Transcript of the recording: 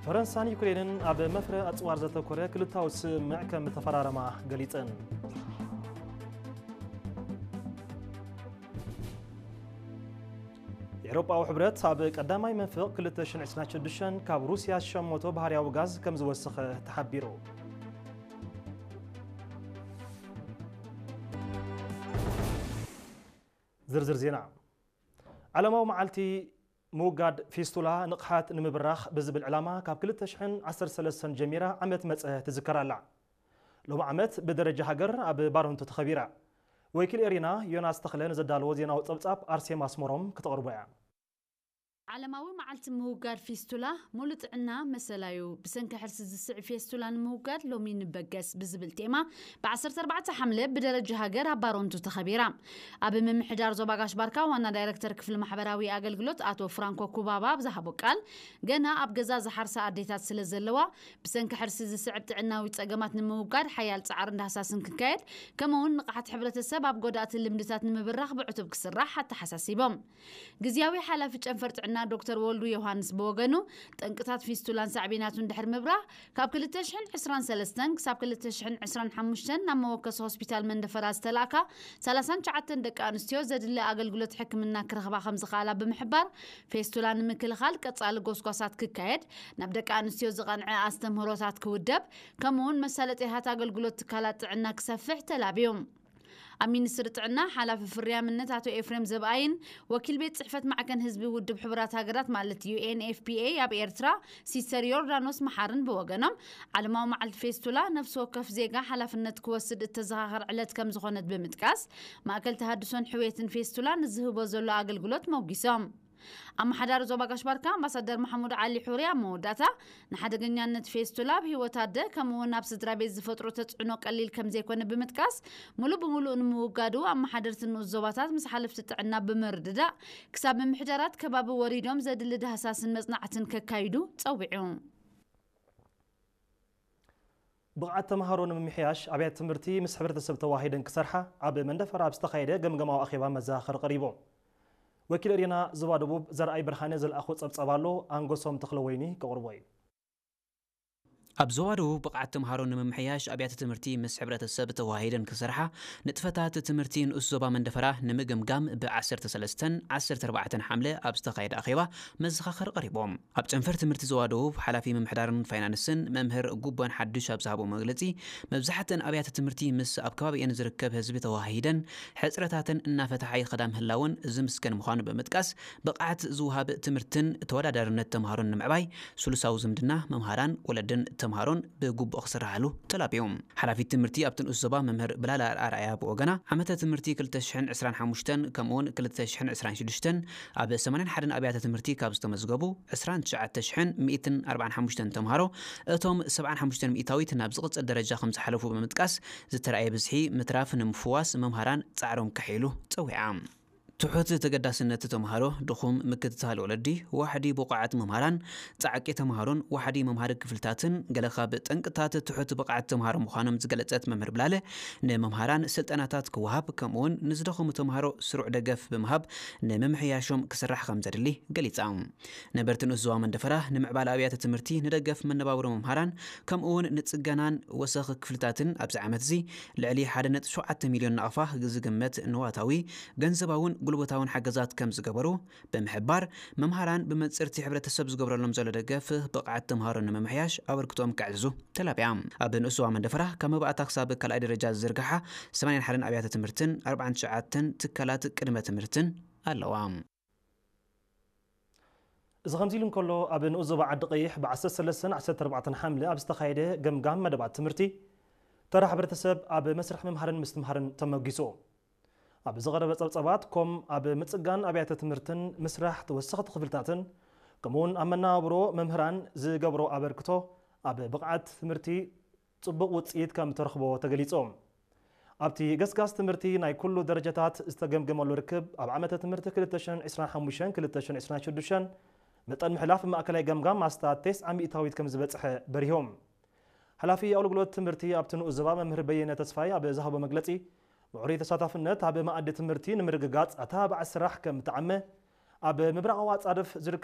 ፈረንሳን ዩክሬንን ኣብ መፍረ ኣጽዋር ዘተኮረ ክልታዊ ስምምዕ ከም ተፈራረማ ገሊጸን። ኤውሮጳዊ ሕብረት ኣብ ቀዳማይ መንፍቕ ክልተ ሽሕን ዕስራን ሽዱሽተን ካብ ሩስያ ዝሸመቶ ባህርያዊ ጋዝ ከም ዝወሰኸ ተሓቢሩ። ዝርዝር ዜና። ዓለማዊ መዓልቲ ምውጋድ ፊስቱላ ንቕሓት ንምብራኽ ብዝብል ዕላማ ካብ ክልተ ሽሕን ዓሰርተ ሰለስተን ጀሚራ ዓመት መጸ ትዝከር ኣላ። ሎሚ ዓመት ብደረጃ ሃገር ኣብ ባረንቱ ተኸቢራ። ወኪል ኤሪና ዮናስ ተኽለ ንዘዳለዎ ዜናዊ ጸብጻብ ኣርሴማ ኣስመሮም ክተቕርቦ እያ። ዓለማዊ መዓልቲ ምውጋድ ፊስቱላ ሙሉ ጥዕና መሰላዩ። ብሰንኪ ሕርሲ ዝስዕ ፌስቱላ ንምውጋድ ሎሚ ንበገስ ብዝብል ቴማ ብ ዓሰርተ ኣርባዕተ ሓምለ ብደረጃ ሃገር ኣብ ባረንቱ ተኸቢራ። ኣብ ምምሕዳር ዞባ ጋሽ ባርካ ዋና ዳይረክተር ክፍሊ ማሕበራዊ ኣገልግሎት ኣቶ ፍራንኮ ኩባባ ኣብ ዝሃቦ ቃል፣ ገና ኣብ ገዛ ዝሓርሳ ኣዴታት ስለ ዘለዋ፣ ብሰንኪ ሕርሲ ዝስዕብ ጥዕናዊ ጸገማት ንምውጋድ ሓያል ጻዕርን ዳህሳስን ክካየድ፣ ከምኡውን ንቕሓት ሕብረተሰብ ኣብ ጎዳእቲ ልምድታት ንምብራኽ ብዕቱብ ክስራሕ ኣተሓሳሲቦም። ግዝያዊ ሓላፊ ጨንፈር ጥዕና ዶክተር ወልዱ ዮሃንስ ብወገኑ፣ ጠንቅታት ፊስቱላን ሳዕቤናቱን ድሕሪ ምብራህ፣ ካብ ክልተ ሽሕን ዕስራን ሰለስተን ክሳብ ክልተ ሽሕን ዕስራን ሓሙሽተን ናብ መወከሲ ሆስፒታል መንደፈራ ዝተላእካ ሰላሳን ትሽዓተን ደቂ ኣንስትዮ ዘድሊ ኣገልግሎት ሕክምና ክረኽባ ከም ዝኸኣላ ብምሕባር፣ ፌስቱላ ንምክልኻል ቀጻሊ ጎስጓሳት ክካየድ፣ ናብ ደቂ ኣንስትዮ ዝቐንዐ ኣስተምህሮታት ክውደብ፣ ከምኡውን መሳለጥያታት ኣገልግሎት ትካላት ጥዕና ክሰፍሕ ተላብዩ። ኣብ ሚኒስትሪ ጥዕና ሓላፊ ፍርያምነት ኣቶ ኤፍሬም ዘብኣይን ወኪል ቤት ጽሕፈት ማዕከን ህዝቢ ውድብ ሕቡራት ሃገራት ማለት ዩ ኤን ኤፍ ፒ ኤ ኣብ ኤርትራ ሲስተር ዮርዳኖስ መሓርን ብወገኖም፣ ዓለማዊ መዓልቲ ፌስቱላ ነፍሲ ወከፍ ዜጋ ሓላፍነት ክወስድ እተዘኻኸር ዕለት ከም ዝኾነት ብምጥቃስ፣ ማእከል ተሃድሶን ሕውየትን ፌስቱላ ንዝህቦ ዘሎ ኣገልግሎት መጒሶም። ኣመሓዳሪ ዞባ ጋሽ ባርካ ኣምባሳደር መሓሙድ ዓሊ ሑሪ ኣብ መወዳእታ፣ ንሓደገኛነት ፌስቱላ ኣብ ህይወት ኣደ ከምኡ እውን ኣብ ስድራ ቤት ዝፈጥሮ ተጽዕኖ ቀሊል ከም ዘይኮነ ብምጥቃስ፣ ሙሉእ ብምሉእ ንምውጋዱ ኣመሓደርቲ ንኡስ ዞባታት ምስ ሓለፍቲ ጥዕና ብምርድዳእ ክሳብ ምምሕዳራት ከባቢ ወሪዶም ዘድሊ ዳህሳስን መጽናዕትን ከካይዱ ጸዊዑ። ብቕዓት ተምሃሮ ንምምሕያሽ ኣብያተ ትምህርቲ ምስ ሕብረተሰብ ተዋሂደን ክሰርሓ ኣብ መንደፈራ ኣብ ዝተኻየደ ገምገማዊ ኣኼባ መዘኻኸሪ ቀሪቦም። ወኪል ኤሪና ዞባ ደቡብ ዘርኣይ ብርሃነ ዘልኣኾ ጸብጻብ ኣሎ፣ ኣንጎሶም ተኽለወይኒ ከቕርቦ እዩ። ኣብ ዞባ ደቡብ ብቕዓት ተምሃሮ ንምምሕያሽ ኣብያተ ትምህርቲ ምስ ሕብረተሰብ ተዋሂደን ክሰርሓ ንጥፈታት ትምህርቲ ንኡስ ዞባ መንደፈራ ንምግምጋም ብ ዓሰርተ ሰለስተን ዓሰርተ ኣርባዕተን ሓምለ ኣብ ዝተኻየደ ኣኼባ መዘኻኸሪ ቀሪቦም። ኣብ ጨንፈር ትምህርቲ ዞባ ደቡብ ሓላፊ ምምሕዳርን ፋይናንስን መምህር ጉቦን ሓዱሽ ኣብ ዝሃቦ መግለጺ፣ መብዛሕትአን ኣብያተ ትምህርቲ ምስ ኣብ ከባቢአን ዝርከብ ህዝቢ ተዋሂደን ሕጽረታተን እናፈትሓ ይኸዳ ምህላወን ዝምስገን ምዃኑ ብምጥቃስ፣ ብቕዓት ዝወሃብ ትምህርትን ተወዳዳርነት ተምሃሮን ንምዕባይ ስሉሳዊ ዝምድና መምሃራን ወለድን ተምሃሮን ብግቡእ ክስራሓሉ ተላብዮም። ሓላፊት ትምህርቲ ኣብቲ ንኡስ ዞባ መምህር ብላላ ኣርኣያ ብወገና፣ ዓመተ ትምህርቲ ክልተ ሽሕን ዕስራን ሓሙሽተን ከምኡውን ክልተ ሽሕን ዕስራን ሽዱሽተን ኣብ ሰማንያን ሓደን ኣብያተ ትምህርቲ ካብ ዝተመዝገቡ ዕስራን ትሽዓተ ሽሕን ሚእትን ኣርባዓን ሓሙሽተን ተምሃሮ፣ እቶም ሰብዓን ሓሙሽተን ሚእታዊት ናብ ዝቕጽል ደረጃ ከም ዝሓለፉ ብምጥቃስ፣ ዝተራእየ ብዝሒ ምትራፍ ንምፍዋስ መምሃራን ጻዕሮም ከሕይሉ ጸዊዓ። ትሑት ተገዳስነት ተምሃሮ፣ ድኹም ምክትታል ወለዲ፣ ዋሕዲ ብቑዓት መምሃራን ጻዕቂ ተምሃሮን ዋሕዲ መምሃሪ ክፍልታትን ገለ ካብ ጠንቅታት ትሑት ብቕዓት ተምሃሮ ምዃኖም ዝገለጸት መምህር ብላለ፣ ንመምሃራን ስልጠናታት ክወሃብ ከምኡውን ንዝደኸሙ ተምሃሮ ስሩዕ ደገፍ ብምሃብ ንምምሕያሾም ክስራሕ ከም ዘድሊ ገሊጻ። ነበርቲ ንኡስ ዞባ መንደፈራ ንምዕባለ ኣብያተ ትምህርቲ፣ ንደገፍ መነባብሮ መምሃራን ከምኡውን ንጽገናን ወሰኽ ክፍልታትን ኣብዚ ዓመት እዚ ልዕሊ ሓደ ነጥቢ ሸውዓተ ሚልዮን ናቕፋ ዝግመት ንዋታዊ፣ ገንዘባውን ጉልበታውን ሓገዛት ከም ዝገበሩ ብምሕባር፣ መምሃራን ብመንጽርቲ ሕብረተሰብ ዝገብረሎም ዘሎ ደገፍ ብቕዓት ተምሃሮ ንምምሕያሽ ኣበርክቶኦም ከዕዝዙ ተላብያ። ኣብ ንኡስ ዞባ መንደፈራ ካብ መባእታ ክሳብ ካልኣይ ደረጃ ዝዝርግሓ ሰማንያን ሓደን ኣብያተ ትምህርትን ኣርባዓን ትሽዓተን ትካላት ቅድመ ትምህርትን ኣለዋ። እዚ ከምዚ ኢሉ እንከሎ፣ ኣብ ንኡስ ዞባ ዓዲ ቀይሕ ብ ዓሰርተ ሰለስተን ዓሰርተ ኣርባዕተን ሓምለ ኣብ ዝተኻየደ ገምጋም መደባት ትምህርቲ፣ ተራ ሕብረተሰብ ኣብ መስርሕ ምምሃርን ምስትምሃርን ተመጊሱ። ኣብ ዝቐረበ ጸብጻባት፣ ኮም ኣብ ምጽጋን ኣብያተ ትምህርትን ምስራሕ ተወሰኽቲ ክፍልታትን፣ ከምኡውን ኣብ መነባብሮ መምህራን ዝገብሮ ኣበርክቶ፣ ኣብ ብቕዓት ትምህርቲ ጽቡቕ ውጽኢት ከም ተረኽቦ ተገሊጹ። ኣብቲ ገስጋስ ትምህርቲ ናይ ኩሉ ደረጃታት ዝተገምገመሉ ርክብ፣ ኣብ ዓመተ ትምህርቲ ክልተ ሽሕን ዕስራን ሓሙሽተን ክልተ ሽሕን ዕስራን ሽዱሽተን መጠን ምሕላፍ ማእከላይ ገምጋም ኣስታት ተስዓ ሚእታዊት ከም ዝበጽሐ በሪሆም። ሓላፊ ኣገልግሎት ትምህርቲ ኣብቲ ንኡስ ዞባ መምህር በየነ ተስፋይ ኣብ ዝሃቦ መግለጺ፣ ምዕሩይ ተሳታፍነት ኣብ መኣዲ ትምህርቲ ንምርግጋጽ ኣተባባዒ ስራሕ ከም እተዓመ፣ ኣብ ምብራቓዊ ኣጻድፍ ዝርከቡ